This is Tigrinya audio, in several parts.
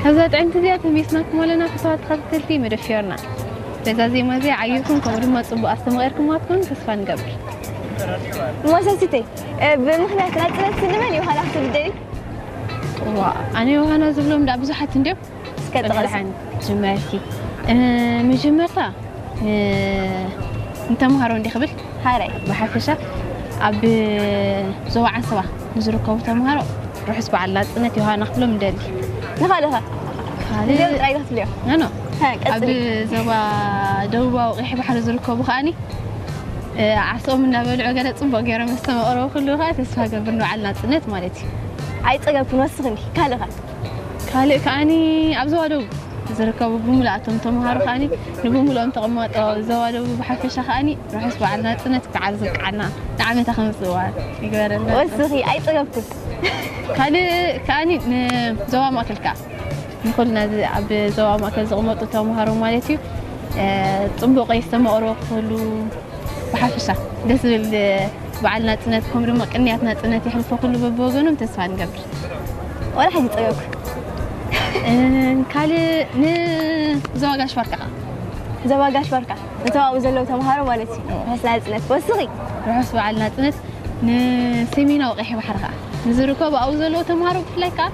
እዛ ጥዕምቲ እዚኣ ተሚስናኩም ኣለና። ክሳብ ተኸታተልቲ መደብ ፊዮርና፣ በዛ ዜማ እዚኣ ዓይኹም፣ ከምኡ ድማ ጽቡቕ ኣስተማቒርኩም ኣትኩም ተስፋ ንገብር። ሞሰሲተይ ብምኽንያት ናጽነት ስልመን ዮሃና ክትብል ደሊ ዋ ኣነ ዮሃና ዝብሎም ዳ ብዙሓት እንዲዮም። እስከ ጥቐስ። ጀመርቲ መጀመርታ ንተምሃሮ እንዲ ክብል ሃረይ ብሓፈሻ ኣብ ዞባ ዓሰባ ንዝርከቡ ተምሃሮ ርሑስ በዓል ናጽነት ዮሃና ክብሎም እንደሊ። ንኻልኸ ካልእ እዚኦም ጥራይ ክትብልዮ ኖ ሃ ኣብ ቀጽሊ ዞባ ደቡባዊ ቀይሕ ባሕሪ ዝርከቡ ከዓኒ ዓስኦም እናበልዑ ገለ ጽቡቅ ገይሮም ዝተመቕረቡ ኩሉ ከዓ ተስፋ ገብር ንበዓል ናጽነት ማለት እዩ። ኣይጸገብኩን ወስኽኒ ካልኸ ካልእ ከዓኒ ኣብ ዞባ ደቡብ ዝርከቡ ብምልኣቶም ተምሃሮ ከዓኒ ንብምልኦም ተቐማጦ ዞባ ደቡብ ብሓፈሻ ከዓኒ ርሑስ በዓል ናጽነት በዓል ዝብቅዓና ንዓመታ ከምፅእዋ ይግበረልና። ወስኺ ኣይጸገብኩን ካልእ ከዓኒ ንዞባ ማእከል ከዓ ንኩልና እዚ ኣብ ዞባ ማእከል ዝቕመጡ ተምሃሮ ማለት እዩ ጽቡቕ ዝተመቕርቦ ክህሉ ብሓፈሻ ደስ ዝብል በዓል ናጽነት ከም ድማ ቅንያት ናጽነት የሕልፎ ኩሉ በብወገኖም ተስፋ ንገብር። ወላ ሓንቲ ጸገብኩ ካልእ ንዞባ ጋሽ ባርካ ዞባ ጋሽ ባርካ እቶም ኣብኡ ዘለዉ ተምሃሮ ማለት እዩ ርሑስ ናጽነት ወስኺ ርሑስ በዓል ናጽነት ንሰሜናዊ ቀይሕ ባሕሪ ከዓ ንዝርከቡ ኣብኡ ዘለዉ ተምሃሮ ብፍላይ ከዓ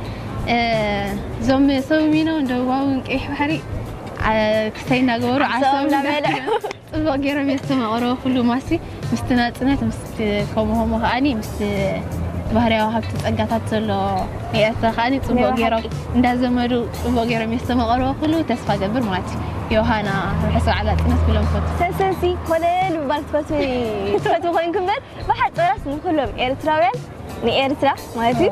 እዞም ሰሜናውን ደቡባውን ቀይሕ ባሕሪ ክሰይ እናገበሩ ዓሰቦም እናበልዑ ጽቡቕ ገይሮም እዮም ዝተመቐረቡ ኩሉ ማሲ ምስቲ ናጽነት ምስቲ ከምኡ ከምኡ ከዓኒ ምስቲ ባህርያዊ ሃብቲ ጸጋታት ዘሎ ንኤርትራ ከዓኒ ጽቡቕ ገይሮም እንዳዘመዱ ጽቡቕ ገይሮም እዮም ዝተመቐረቡ ኩሉ ተስፋ ገብር ማለት እዩ። ዮሃና ርሑስ በዓል ናጽነት ክብሎም ፈቱ። ሰሰሲ ኮለል ምባል ትፈትዊ ትፈትዊ ኮይንኩ እምበር ብሓፂራስ ንኩሎም ኤርትራውያን ንኤርትራ ማለት እዩ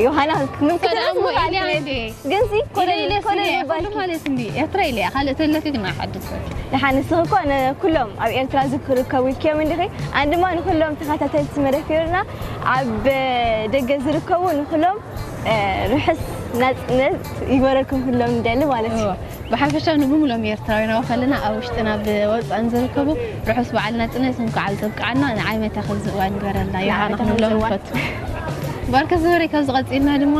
ዮሃና ክምልክት ሰላም ራሱ ወይ ምኽኣል ኢልያ ክብል። እንዴ? ግንሲ ኮለል ኢለ ኢለ ኮለል ስለ ምባል ኩሉ ማለት እንዲ ኤርትራ ኢለ ካልእ ተለኪ ግን ኣይሓድስ ንሓንስ እኮ ንኩሎም ኣብ ኤርትራ ዝርከቡ ኢልክዮም እንዲኺ ኣን ድማ ንኩሎም ተኸታተልቲ መደብ ፊዮርና ኣብ ደገ ዝርከቡ ንኩሎም ርሑስ ናጽነት ይግበረልኩም ኩሎም ንደሊ ማለት እዩ ብሓፈሻ ንብሙሎም ኤርትራውያን ኣብ ከለና ኣብ ውሽጥን ኣብ ወፃእን ዝርከቡ ርሑስ በዓል ናጽነት እንኳዕ ዘብቅዓና ንዓመታ ከምዚ እዋን ይግበረልና ዮሃና ንዓመታ ክንብሎም ከምዚ እዋን። ንፈቱ ባርከ ዝበረ ካብ ዝቐፂልና ድማ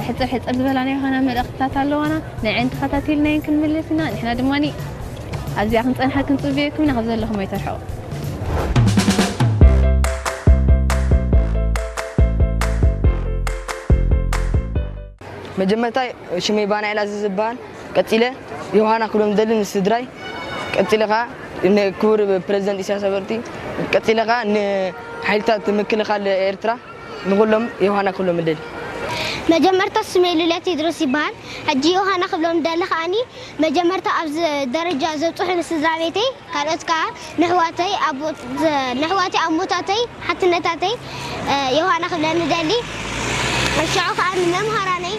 ሕፅር ሕፅር ዝበላ ናይ ዮሃና መልእኽትታት ኣለዋና ንዐን ተኸታቲልናየን ክንምልስ ኢና ንሕና ድማ ኣብዚኣ ክንፀንሓ ክንፅበየኩም ኢና ካብ ዘለኹም ኣይተርሕቑ መጀመርታ ሽመይ ባናይላ ዝበሃል ቀፂለ ዮሃና ክብሎም ደሊ ንስድራይ ቀፂለ ከዓ ንክቡር ፕሬዚደንት ኢሳያስ ኣፈወርቂ ቀፂለ ከዓ ንሓይልታት ምክልኻል ኤርትራ ንኩሎም ዮሃና ክብሎም ደሊ መጀመርታ ስመይ ሉልያ ቴድሮስ ይበሃል። ሕጂ ዮሃና ክብሎም ደሊ ከዓኒ መጀመርታ ኣብዚ ደረጃ ዘብፅሑኒ ስድራ ቤተይ ካልኦት ከዓ ንሕዋተይ ኣቦ- ንሕዋተይ ኣሞታተይ ሓትነታተይ ዮሃና ክብለኒ ደሊ። ሽዑ ከዓ ንመምሃራነይ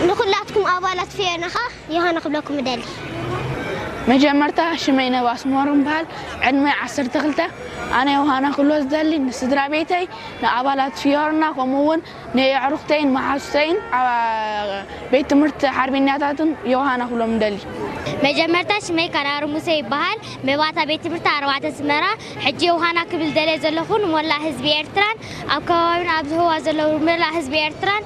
ንኩላትኩም ኣባላት ፊዮና ከዓ ዮሃና ክብለኩም ደሊ። መጀመርታ ሽመይ ነባስ ሞር እምበሃል ዕድመይ ዓሰርተ ክልተ ኣነ ዮሃና ክብሎ ዝደሊ ንስድራ ቤተይ ንኣባላት ፊዮርና ከምኡ እውን ንየዕሩኽተይን መሓዙተይን ቤት ትምህርቲ ሓርበኛታትን ዮሃና ክብሎም ደሊ። መጀመርታ ሽመይ ካራር ሙሴ ይበሃል። መባእታ ቤት ትምህርቲ ኣርባዕተ ስመራ። ሕጂ ዮሃና ክብል ደልየ ዘለኹ ንሞላእ ህዝቢ ኤርትራን ኣብ ከባቢና ኣብ ዝህዋ ዘለዉ መላእ ህዝቢ ኤርትራን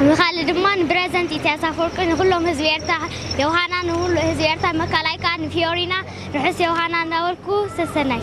ንኻልእ ድማ ንፕረዚደንት ኢሳያስ ኣፈወርቂ ንኩሎም ህዝቢ ኤርትራ ዮሃና ንኩሉ ህዝቢ ኤርትራ መካላይ ከዓ ንፊዮሪና ርሑስ ዮሃና እናበልኩ ሰሰናይ።